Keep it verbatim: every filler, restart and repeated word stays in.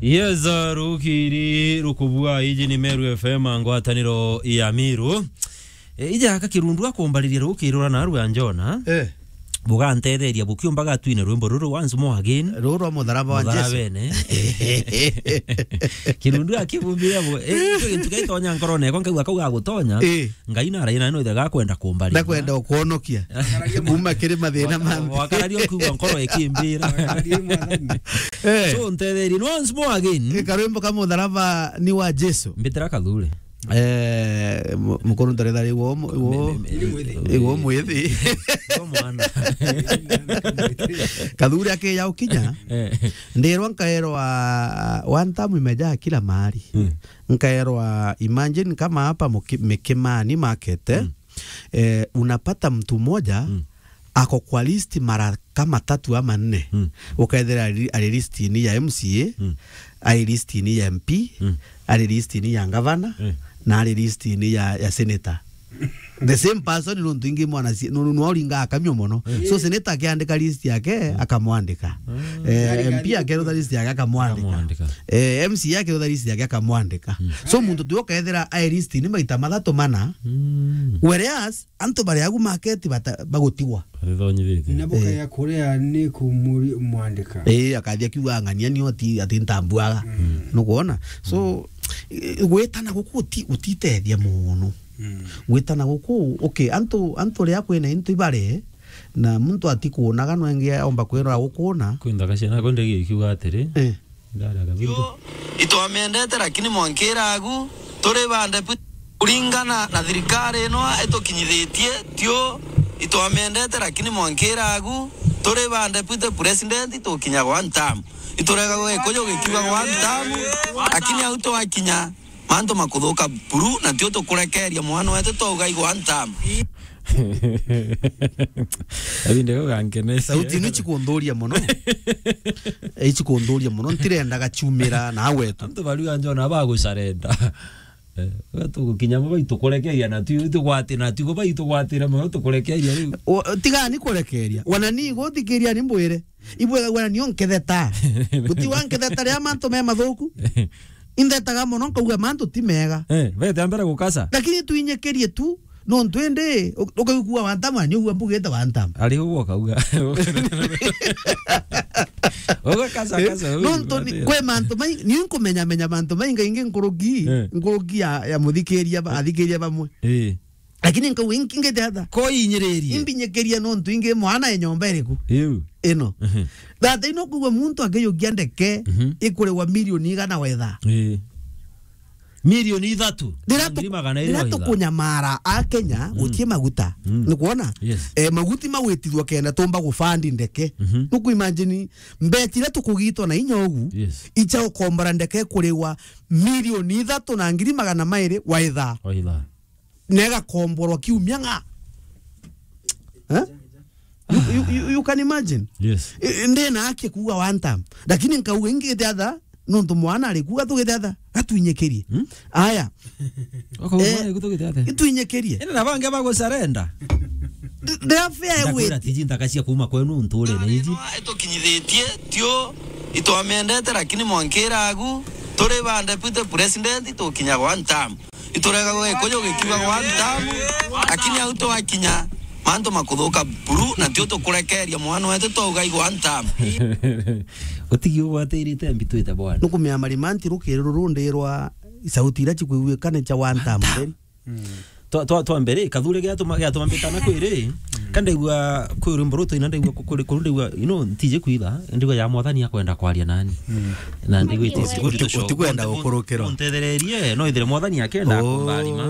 Yes, uh, rukiri rukubua, iji ni Meru F M, ngwataniro ya Miru. E, ija aka Kirundu akumbariria rukiri rwa naru ya Njona. Eh. Bugantetheria bukiumbaga twine rwimbo ruru once more again. Ruru rwa mutharaba wa Jesu. Mutharabene. Kirundu akibumbira bu-, e, ijo gintu gaitonya nkorone yakwa, nkauga kau gagutonya. Eh. Ngai naraina no ithe gakwenda kumbaria. Ndakwenda ukwonokia. Kuma kiri mathina manthe. Wakararia ukiuga nkoro ikimbira. Eh. So, ntetherie once more again. Karwimbo ka mutharaba ni wa Jesu. Mbitira Kathure. Eh, mu-, mukuru ntaretha riu wo mu-, wo, me-, me-, me-, igo mwithi. Igo mwana. Kathure akiya ukinya. Eh. Ndirwa nkaerwa one time imejaa kila mahali. Mm. Nkaerwa, imagine kama hapa Muki-, Mikimani market, eh, mm, eh, unapata mtu mmoja, mm, ako kwa list mara kama tatu ama nne. Mm. Ukaethira ari, ari list-ini ya M C A, mm, ari list-ini ya M P, mm, ari list-ini ya gavana, mm, na ari list-ini ya, ya senator. The same person, nontu ingi mwana si-, nu-, nu-, nwa uringa akamio mono. Mm. So, senator akiandika list yake, mm, akamwandika. Mm. Eh, M P akerutha list yake, akamwandika. Akamwandika. Eh, M C A akerutha list yake, akamwandika. Mm. So, muntu tu ukaethira ai list-ini maita mathatu mana. Mm. Whereas, antu bari agu market bata-, bagutigwa. Bathithonyithitie. Na bukaya, eh, kuria ni kumuri-, mwandika. Eh, akathia kiuga, "Ng'ania ni oti, ati ntambuaga." Mm. Nukwona? So, mm, eh, gwitana guku uti-, utitethia mono. Mm. Gwitana guku, okay, antu, antu ria kwina into ibare, na muntu atikunaga, no ingi aomba kwirwa gukuna. Kwintha gaciana ko ndegi ikiuga atiri, eh, ndara kabindu. Yo, itwamendete, lakini mwankira agu, turi bande pu-, kuringana na thirikari ino itukinyithitie, tio, itwamendete, lakini mwankira agu, turi bande pite president, tukinya one term. Iturega gwikuyu gikiuga one term, lakini au twakinya, mantu makuthuka buru, na tio tukurekeria mwana wetu twauga igwa ntamu. Abinde gugankene. Sauti ino chikundhuria mono. Eh, chikundhuria mono. Ntirenda gachumira na wetu. Antu bariu anjona bagucarenda. Eh, we tugukinya mo baitukurekeria na tu, tugwati-, na tu baitugwatire mono tukurekeria riu. O, tigani kurekeria. Wana ni guthikiria ni mbwire. Ibwega gwira nio nketheta. Guti wa nketheta ria mantu me mathuku. Indetaga mono nkauga mantu ti mega. Eh, bete ambere gukasa. Lakini tuinyikirie tu, nontu indi, u-, ukaigua wantamwa, ni ugua mbugite wantamwa. Ari ugwo ukauga. Ugakasa, eh, kasa, nontu ni, ugwatira. Kwi mantu mai-, ni nkumenya menya mantu maingaingi nkuruki, eh, nkuruki ya, ya muthikiria ba-, athikiria bamwe. Eh. Lakini nkauga, inki ngite atha? Ko inyiririe. Imbinyikiria nontu ingi mwana e nyomba iriku? Iu. Ino. Mhm. Thata ino kugwa muntu akiyukia ndeke, mhm, ikurigwa milioni igana wetha. Ii. Milioni ithatu. Rira tu-, ngiri magana iri rira wetha. Tukunyamara a Kenya, mm, gutie maguta. Mm. Ni kwona? Yes. Eh, maguti magwitithwa kenda tumba gufandi ndeke. Mhm. Nuku imagine, mbeti ira tukugitwa na inya ugu, yes, icha ukombora ndeke kurigwa milioni ithatu na ngiri magana mairi waitha. Waitha. Na igakomborwa kiumia ng'a. Eh? You, you, you, you can imagine? Yes. I, i, ndina haki kuuga one time. Lakini nkauga ingi gitiatha, nontu mwana ari kuuga tugitiatha, gatwinyikirie. Hmm? Aya. Wako eh, mwana ari kuuga tugitiatha. Itwinyikirie. Ina na bangi bagucarenda. Th-, they are fair. Ndakwira with tiji ntaka cia kuuma kwenu nture na iji. Itukinyithitie, tio, itwamendete, lakini mwankira agu, turi ba deputy president, tukinya one time. Iturega gwikuyu gikiuga gwa ntamu, lakini au twakinya, mantu makuthuka buru, na tio tukurekeria mwana wetu twauga igwa ntamu. Utigi ugwatirite mbitwite bwana. Nukumia marimanti rukiri ruru ndirwa sauti ira cikwiguikane cia wa ntamu. Ntamu. Then. Mm. Twa, twa, twa mbere, Kathure giatuma, giatuma mbitana kwiri, kandaigua kwi rwimbo rutu ina ndaigua ku-, kuri, kuri ndaigua, you know, ntiji kwitha, ndaigua ya Mwathani akwenda kwaria nani. Mm. Na ndaigua iti-, uti-, uti-, utikwenda gukurukirwa. Untethererie, no ithire Mwathani akenda kumbarima.